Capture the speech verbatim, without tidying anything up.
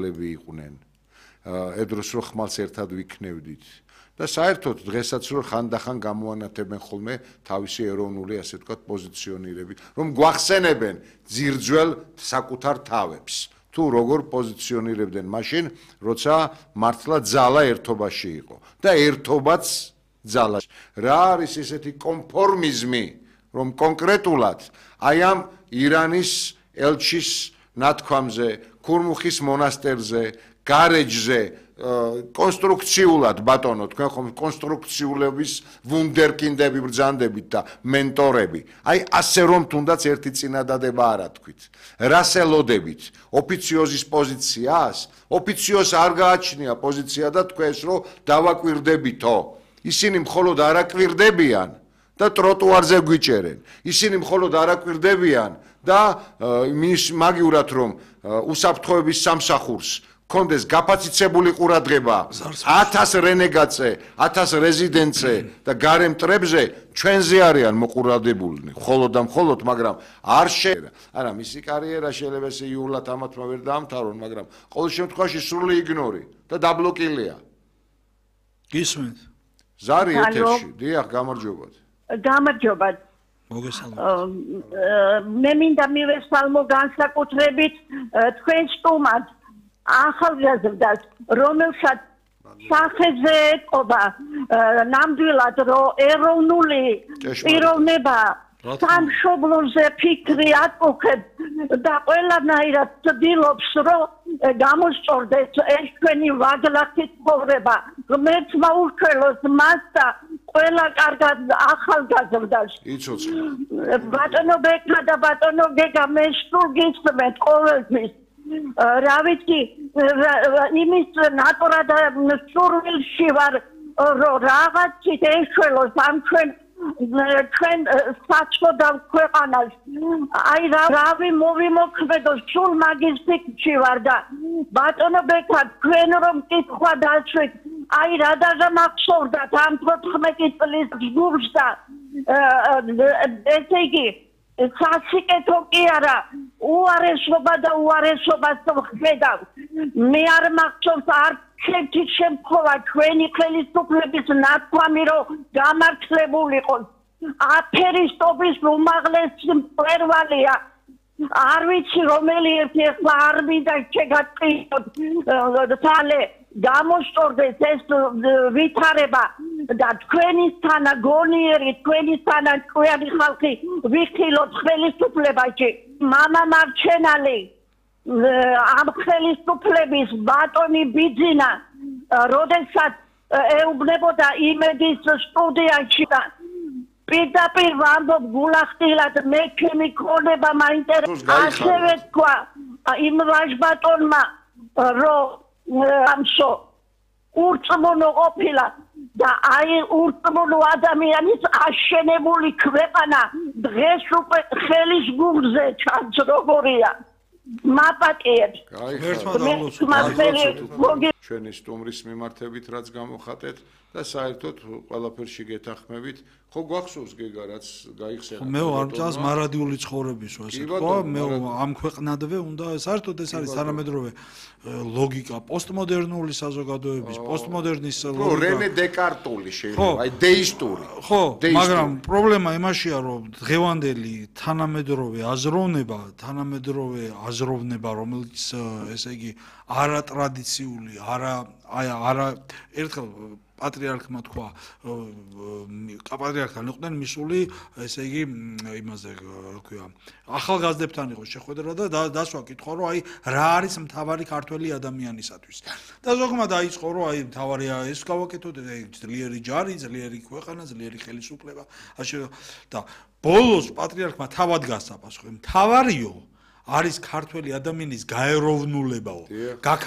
მკვლელები იყვნენ. Այդ დროს რომ ხმალს ერთად ვიქნევდით. და საერთოდ დღესაც რომ ხანდახან გამოანათებენ ხოლმე თავისი ეროვნული ასე ვთქვათ პოზიციონირები, რომ გვახსენებენ ძირძველ საკუთარ თავებს. თუ როგორ პოზიციონირებდნენ მაშინ, როცა მართლა ძალა ერთობაში იყო და ერთობაც ძალა. რა არის ესეთი კონფორმიზმი, რომ კონკრეტულად აი ამ ირანის ელჩის ნათქვამზე, ქურმუხის მონასტერზე, გარეჯზე კონსტრუქციულად ბატონო თქვენ ხომ კონსტრუქციულების ვუნდერკინდები ბრძანდებით და მენტორები აი ასე რომ თუნდაც ერთი წინადადება არა თქვით რასელოდებით ოფიციოზის პოზიციას ოფიციოზს არ გააჩნია პოზიცია და თქვენს რომ დავაკვირდებითო ისინი მხოლოდ არაკვირდებიან და ტროტუარზე გვიჭერენ ისინი მხოლოდ არაკვირდებიან და მაგივრად რომ უსაფრთხოების სამსახურს კონდეს გაფაციცებული ყურადღება ათას რენეგატზე, ათას რეზიდენტზე და გარემ მტრებზე ჩვენზე არიან მოყურადებული, მხოლოდ და მხოლოდ, მაგრამ არ შეიძლება. არა, მისი კარიერა შეიძლება ესე იულად ამათმა ვერ დაამთავრონ, მაგრამ ყოველ შემთხვევაში სრული იგნორი და დაბლოკილია. გისმენთ? ზარი ეთერში, დიახ, გამარჯობათ. გამარჯობათ. მოგესალმებით. მე მინდა მივესალმო განსაკუთრებით თქვენ სტუმარს ახალგაზრდას, რომელსაც სახეზე ეთყობა ნამდვილად რომ ეროვნული პიროვნება სამშობლოზე ფიქრი ატყუხებს და ყველანაირად ცდილობს რომ გამოსწორდეს ეს ჩვენი ვაგლახის ცხოვრება. ღმერთმა ურჩევლოს მას და ყველა კარგად ახალგაზრდას. იცოცხლე. ბატონო ბექა და ბატონო გეგა მე სულ გისმენთ ყოველთვის. რა ვიცი იმის ნატურა და სურვილში ვარ რომ რაღაცით ეშველოს ამ ჩვენ ჩვენ საჩოდავ ქვეყანას აი რავი მოვიმოქმედო სულ მაგის ფიქრში ვარ და ბატონო ბექა თქვენ რომ კითხვა დაშვით აი რა დაგამახსოვრდათ ამ თოთხმეტი წლის ჯგუფს და ესე იგი სასიკეთო კი არა უარესობა და უარესობას ვხედავ მე არ მახსოვს არც ერთი შემთხვევა ჩვენი ხელისუფლების ნათქვამი რომ გამართლებულიყო აფერისტობის უმაღლესი მწვერვალია არ ვიცი რომელი ერთი ახლა არ მინდა შეგატყიოთ თალე გამოსწორდეს ეს ვითარება და თქვენისთანა გონიერი თქვენისთანა ჭკვიანი ხალხი ვიხილოთ ხელისუფლებაში მამა მარჩენალი ამ ხელისუფლების ბატონი ბიძინა როდესაც ეუბნებოდა იმედის სტუდიაში და პირდაპირ ვამბობ გულახდილად მე ჩემი ქონება მაინტერესებს ასევე თქვა იმ ვაჟბატონმა რომ ამსო ურწმუნო ყოფილა და აი ურწმუნო ადამიანის აშენებული ქვეყანა დღეს უკვე ხელის გულზე ჩანს როგორია მაპატიებს ჩვენი სტუმრის მიმართებით რაც გამოხატეთ და საერთოდ ყველაფერში გეთანხმებით ხო გვახსოვს გეგა რაც გაიხსენა მე არ მწავს მარადიული ცხოვრების ასე თქვა მე ამ ქვეყნადვე უნდა საერთოდ ეს არის თანამედროვე ლოგიკა პოსტმოდერნული საზოგადოების პოსტმოდერნის ლოგიკა რენე დეკარტული შეიძლება აი დეისტური ხო მაგრამ პრობლემა იმაშია რომ დღევანდელი თანამედროვე აზროვნება თანამედროვე აზროვნება რომელიც ესე იგი არატრადიციული არა აი არა ერთხელ პატრიარქმა თქვა პატრიარქთან იყვნენ მისული ესე იგი იმაზე რა ქვია ახალგაზრდებთან იყო შეხვედრა და დასვა კითხვა რომ აი რა არის მთავარი ქართველი ადამიანისათვის და ზოგმა დაიწყო რომ აი მთავარია ეს გავაკეთოთ ძლიერი ჯარი ძლიერი ქვეყანა ძლიერი ხელისუფლება და ბოლოს პატრიარქმა თავად გასწაფას ხო მთავარიო არის ქართველი ადამიანის გაეროვნულებაო